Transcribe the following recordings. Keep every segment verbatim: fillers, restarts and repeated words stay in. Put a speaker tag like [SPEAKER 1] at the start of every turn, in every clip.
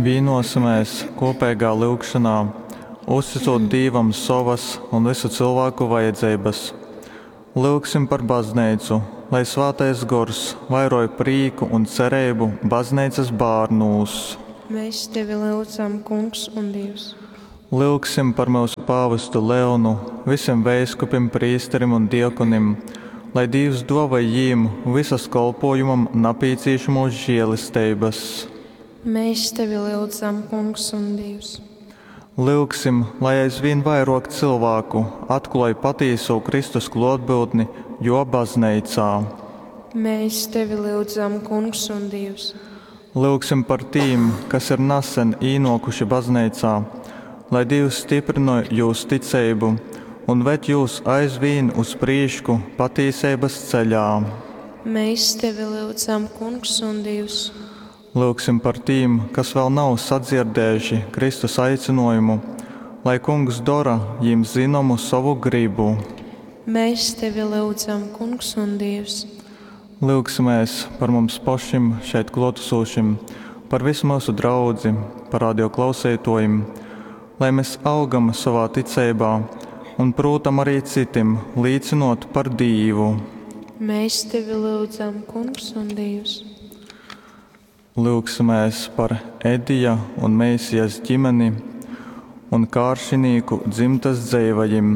[SPEAKER 1] Vīnosimēs kūpeigā lyugšonā, uztycūt Dīvam sovas un vysu cylvāku vajadzeibas. Lyugsim par Bazneicu, lai Svātais Gors vairoj prīku un cereibu Bazneicas bārnūs.
[SPEAKER 2] Mēs tevi lyudzam, Kungs un Dīvs.
[SPEAKER 1] Lyugsim par myusu pāvestu Leonu, vysim veiskupim, prīsterim un diakonim, lai Dīvs dōvoj jīm vysas kolpōjumam napīcīšamōs želesteibas.
[SPEAKER 2] Mēs tevi lyudzam, Kungs un Dīvs.
[SPEAKER 1] Lyugsim, lai aizvīn vairōk cylvāku atklōj patīsū Kristus klōtbyutni Jō Bazneicā.
[SPEAKER 2] Mēs tevi lyudzam, Kungs un Dīvs.
[SPEAKER 1] Lyugsim par tīm, kas ir nasen īnōkuši Bazneicā, lai Dīvs styprynoj jūs ticeibu un ved jūs aizvīn uz prīšku patīseibas ceļā.
[SPEAKER 2] Mēs tevi lyudzam, Kungs un Dīvs.
[SPEAKER 1] Lyugsim par tīm, kas vēl nav sadzierdējuši Kristus aicynōjumu, lai Kungs dora jīm zynomu sovu grybu.
[SPEAKER 2] Mēs tevi lyudzam, Kungs un Dīvs.
[SPEAKER 1] Lyugsimēs par mums pošim šeit klōtasūšim, par vysu myusu draudzi, par radio klauseitōjim, lai mes augam sovā ticeibā un prūtam arī cytim līcynōt par Dīvu.
[SPEAKER 2] Mēs tevi lyudzam, Kungs un Dīvs.
[SPEAKER 1] Lyugsimēs par Edija un Meisijas ģimeni un Kāršinīku dzymtas dzeivajim.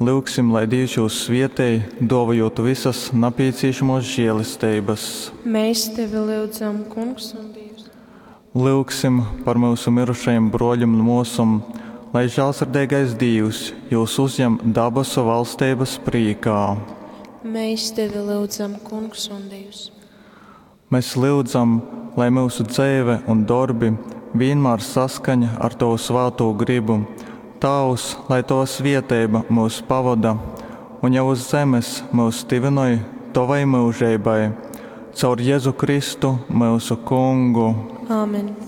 [SPEAKER 1] Lyugsim, lai Dīvs jūs svietej, dōvojūt visas napīcīšamōs žēlesteibas.
[SPEAKER 2] Mēs tevi lyudzam, Kungs un Dīvs.
[SPEAKER 1] Lyugsim par myusu mirušajim brōļim un mōsom, lai žālsirdeigais Dīvs jūs uzjem dabasu valsteibas prīkā.
[SPEAKER 2] Mēs tevi lyudzam, Kungs un Dīvs.
[SPEAKER 1] Mēs lyudzam, lai myusu dzeive un dorbi vīnmār saskaņ ar Tovu svātū grybu, Tāvs, lai Tova svieteiba myus pavoda un jau uz zemes myus tyvynoj Tovai myužeibai. Caur Jezu Kristu, myusu Kungu.
[SPEAKER 2] Āmen.